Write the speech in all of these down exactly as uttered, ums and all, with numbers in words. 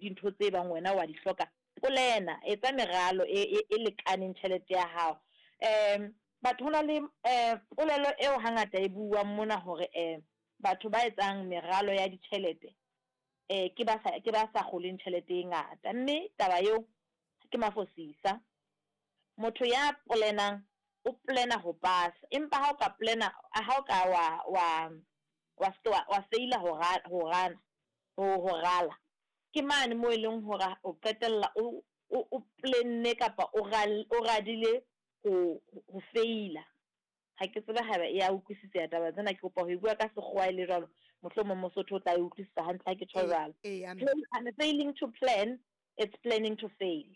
Dintho tse bang wena wa di hloka, polena, etsa meralo e, e, e lekaneng tjhelete ya hao. Um batho ho na le um polelo eo hangata e buang mona hore um batho ba etsang meralo ya ditjhelete um ke ba sa, ke ba sa kgoleng tjhelete e ngata, mme taba eo ke mafosisa. Motho ya polenang o polena ho pasa, empa ha o ka polena, ha o ka wa wa wa se ke wa wa feila ho ra, ho rana, ho ho rala, ke mane mo e leng hore o qetella o o o plenne kapa o ral, o radile ho ho feila. Ha ke tsebe haeba e ya utlwisiseha taba tsena, ke kopa ho e bua ka sekgowa e le jwalo, mohlomong Mosotho o tla e utlwisisa hantle ha ke tjho Ee, jwalo. eya mme. Plan, failing to plan, it's planning to fail.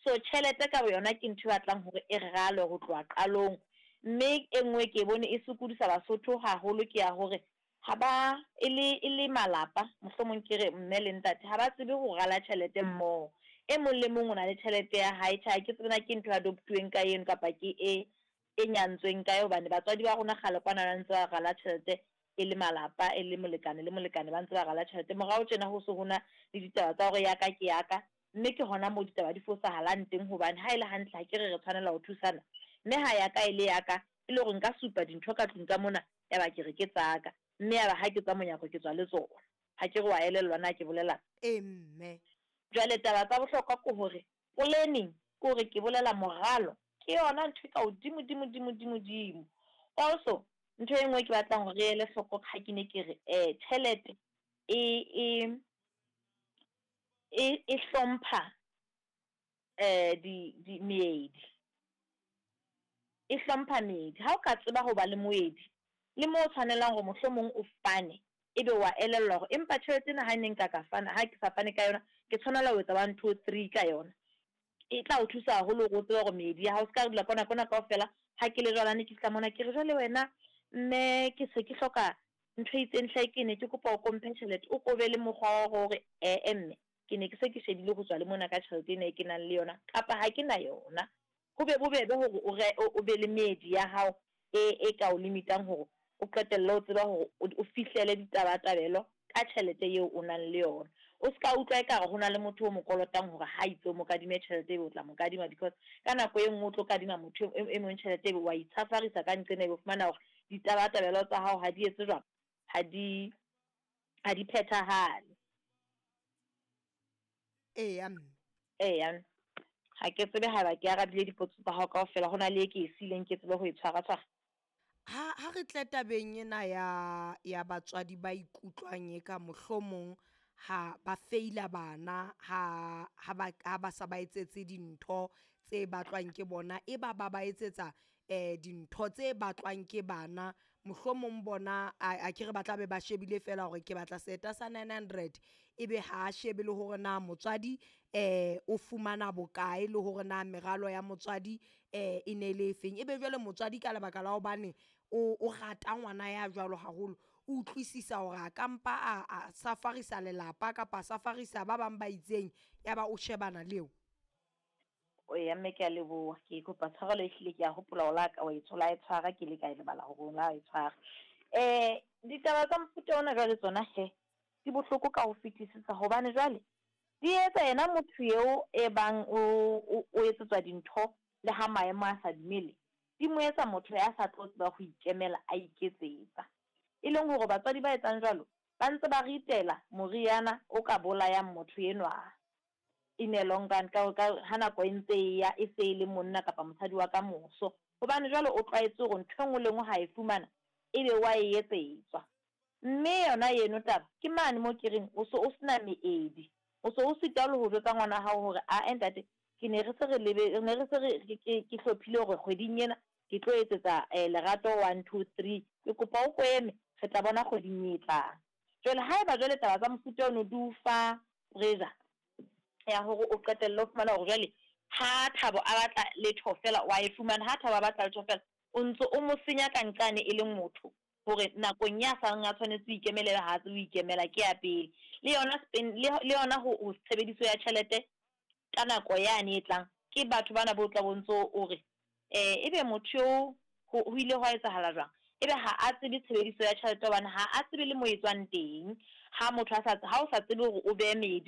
So tjhelete ka boyona ke ntho e batlang hore e ralwe ho tloha qalong, mme e nngwe ke bone e sokodisa Basotho haholo ke ya hore ha ba e le, e le malapa, mohlomong ke re mme le ntate ha ba tsebe ho rala tjhelete mmoho. E mong le mong o na le tjhelete ya hae. Tjhe, ha ke tsebe na ke ntho e adoptuweng ka eno kapa ke e e nyantsweng kae, hobane batswadi ba rona kgale kwana ba ntse ba rala tjhelete e le malapa, e le molekane le molekane ba ntse ba rala tjhelete. Morao tjena ho se ho na le ditaba tsa hore ya ka ke ya ka, mme ke hona moo ditaba di fosahalang teng, hobane ha e le hantle ha ke re re tshwanela ho thusana, mme ha ya ka e le ya ka, e le hore nka supa dintho ka tlung ka mona, ya ba ke re ke tsa ka, mme ya ba ha ke tswa monyako ke tswa le tsona. Ha ke re wa elellwa na ke bolelang? Ee mme. Jwale taba tsa bohlokwa ke hore planning, ke hore ke bolela moralo, ke yona ntho e ka hodimo dimo dimo dimo dimo. Also ntho e nngwe ke batlang hore re ele hloko ha ke ne ke re eh tjhelete e e e e hlompha eh di di meedi, e hlompha meedi. Ha o ka tseba ho ba le moedi le mo o tshwanelang hore mohlomong o fane, ebe wa elellwa hore empa tjhelete ena ha ne nka ka fana, ha ke sa fane ka yona, ke tshwanela ho etsa one two three ka yona. E tla o thusa haholo hore o tsebe hore meedi ya hao, se ka dula kwana kwana kaofela. Ha ke le jwalo, ha ne ke fihla mona ke re jwale wena mme ke se ke hloka ntho e itseng hle, ke ne ke kopa o ko mphe tjhelete, o ko be le mokgwa wa hore eh mme ke ne ke se ke shebile ho tswa le mona ka tjhelete ena e ke nang le yona, kapa ha ke na yona. Ho be bobebe hore o re o be le meedi ya hao e e ka o limitang hore o qetelle o tseba hore o fihlele ditabatabelo ka tjhelete eo o nang le yona. O ska utlwa ekare ho na le motho o mo kolotang hore ha itse o mo kadime tjhelete ebe o tla mo kadima, because ka nako e nngwe o tlo kadima motho e mong tjhelete ebe wa itshafarisa ka nqena, ebe o fumana hore ditabatabelo tsa hao ha di etse jwang, ha di ha di phethahale. Eya mme. Eya, ha ke tsebe haeba ke arabile dipotso tsa hao kaofela, ho na le e ke e siileng ke tsebe ho e tshwara tshwara. Ha ha re tle tabeng ena ya ya batswadi ba ikutlwang eka mohlomong ha ba feila bana ha ha ba ha ba sa ba etsetse dintho tse batlwang ke bona, e ba ba ba etsetsa eh dintho tse batlwang ke bana, mohlomong bona a a ke re ba tla be ba shebile fela hore ke batla seta sa nine hundred, ebe ha a shebe le hore na motswadi eh o fumana bokae, le hore na meralo ya motswadi eh e ne le efeng. Ebe jwale motswadi ka lebaka la hobane o o rata ngwana ya jwalo haholo, o utlwisisa hore a ka mpa a a safarisa lelapa kapa a safarisa ba bang ba itseng, ya ba o shebana le eo. Eya mme ke a leboha, ke kopa tshwarelo ehlile ke a hopola o la ka wa e tshola e tshwara, ke ile ka e lebala hore o la e tshwara. Eh ditaba tsa mofuta ona jwale tsona he di bohloko ka ho fetisisa, hobane jwale di etsa yena motho eo e bang o o o etsetswa dintho le ha maemo a sa dumele, di mo etsa motho ya sa tlo tseba ho ikemela a iketsetsa. E leng hore batswadi ba etsang jwalo ba ntse ba ritela moriana o ka bolayang motho enwa in a long run, ka ka ha nako e ntse e ya, e se e le monna kapa mosadi wa ka moso. Hobane jwale o tlwaetse hore ntho e nngwe le e nngwe ha e fumana ebe wa e etsetswa. Mme yona eno taba ke mane mo ke reng o so o sena meedi, o so o sitwa le ho jwetsa ngwana hao hore ae ntate ke ne re se re lebe, ne re se re ke ke hlophile hore kgweding ena ke tlo etsetsa eh Lerato one two three, ke kopa o ko eme re tla bona kgweding e tlang. Jwale haeba jwale taba tsa mofuta ono di o fa pressure ya hore o qetelle o fumana hore jwale ha Thabo a batla letho fela wa e fumana, ha Thabo a batla letho fela o ntso o mo senya ka nqane e leng motho, hore nakong ya sang a tshwanetse ho ikemela ebe ha tsebe ho ikemela, ke ya pele. Le yona spend le le yona ho ho tshebediso ya tjhelete ka nako yane e tlang, ke batho bana bo tla bo ntso o re eh ebe motho eo ho ho ile hwa etsahala jwang, ebe ha a tsebe tshebediso ya tjhelete hobane ha a tsebe le mo e tswang teng. Ha motho a sa, ha o sa tsebe hore o behe meedi.